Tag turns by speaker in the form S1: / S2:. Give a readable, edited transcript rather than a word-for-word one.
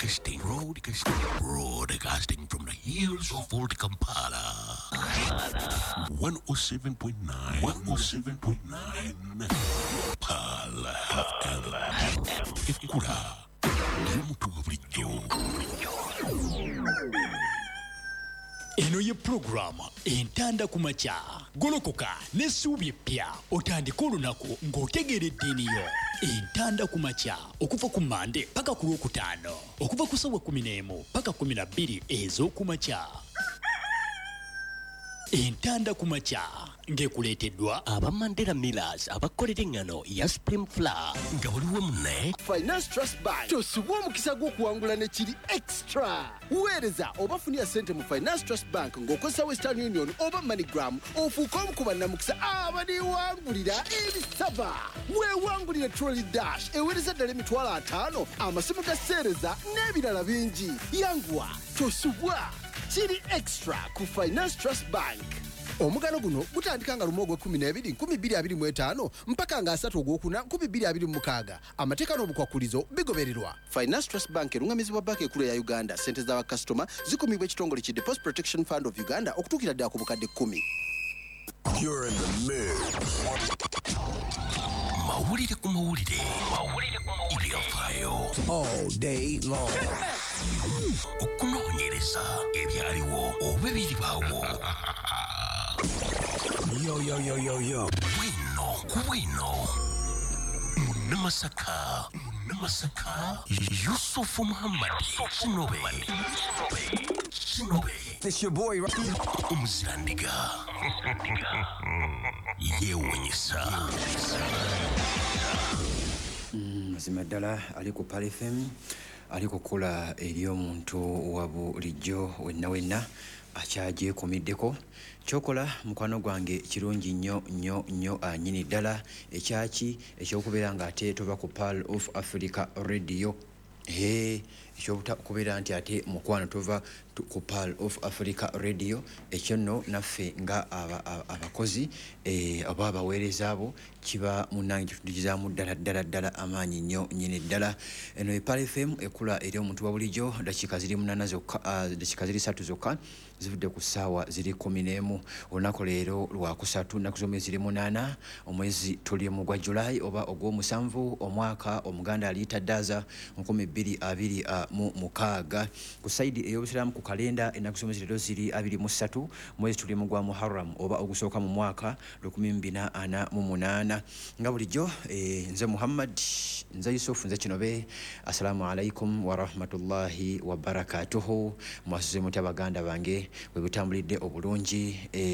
S1: Broadcasting, broadcasting, broadcasting from the hills of Old Kampala. 107.9, 107.9. Pala FM. Ekura. Y'omuntu wa bulijjo.
S2: Eno ye pulogulaamu Entanda ku Makya. Golokoka n'essuubi eppya otandike olunaku ng'otegeera eddiini yo. Entanda ku Makya okuva ku Mmande paka ku Lwokutaano okuva ku ssaawa 11 paka 12 ez'oku makya. Entanda ku Makya ng'ekuleeteddwa
S3: aba Mandela Millers abakolera eŋŋano ya Supreme Flour
S1: nga buli wamu ne
S4: Finance Trust Bank. Tosubwa omukisa gw'okuwangula ne kiri extra. Weereza oba funira ssente mu Finance Trust Bank ng'okozesa Western Union oba MoneyGram ofuuke omu ku bannamukisa abaliwangulira ebisaba. Weewangulire Trolley Dash eweereza ddala 50,000, amasimu ga seereza n'ebirala bingi. Yanguwa, tosubwa. Kiri extra ku Finance Trust Bank. Omugano guno gutandika nga 1 ogw'ekkumi n'ebiri 2025 mpaka nga 3 ogwokuna 2026. Amateeka n'obukwakulizo bigobererwa. Finance Trust Bank erungamizibwa Banka Ekulu eya Uganda. Ssente z'abakasitoma zikumibwa ekitongole ki Deposit Protection Fund of Uganda okutuukira ddala ku bukadde 10.
S5: You're in the mix.
S1: Mawulire ku mawulire. Mawulire ku mawulire. Ebyafaayo.
S5: All day long.
S1: Okunoonyereza ebyaliwo oba ebiribaawo.
S5: Yo, yo, yo, yo, yo.
S1: Bwino ku bwino. Munnamasaka. Munnamasaka. Yusufu Muhammad. Kinobe. Kinobe.
S5: It's your boy.
S1: Omuzirandiga. Yeewuunyisa.
S6: Mazima ddala ali ku Pearl FM, ali kukola eri omuntu wa bulijjo wenna wenna akyagyekuumiddeko. Kyokola mukwano gwange kirungi nnyo nnyo nnyo nnyini ddala ekyaki ekyokubeera ng'ate tova ku Pearl of Africa Radio. Ekyokubeera nti ate mukwano tova ku Pearl of Africa Radio, ekyo nno naffe nga abakozi oba abaweereza abo kiba munnange kitudukizaamu ddala ddala ddala amaanyi nnyo nnyini ddala. Eno ye Pearl FM ekula eri omuntu wa bulijjo. Dakiika ziri 8 zokka, dakiika ziri 3 zokka zivudde ku ssaawa ziri 11. Olunaku leero lwakusatu, nnaku z'omwezi ziri 8, omwezi tuli mu gwa Julai oba ogw'omusanvu, omwaka Omuganda aliyita Ddaaza 2026. Ku sayidi ey'Obusiraamu ku kalenda ennaku z'omwezi leero ziri 23, mwezi tuli mu gwa Muharram oba ogusooka mu mwaka 1448. Nga bulijjo nze Muhammad, nze Yusuf, nze Kinobe. Assalamu alaikum warahmatullahi wabarakatuhu. Mwasuze mutya baganda bange, bwe butambulidde obulungi?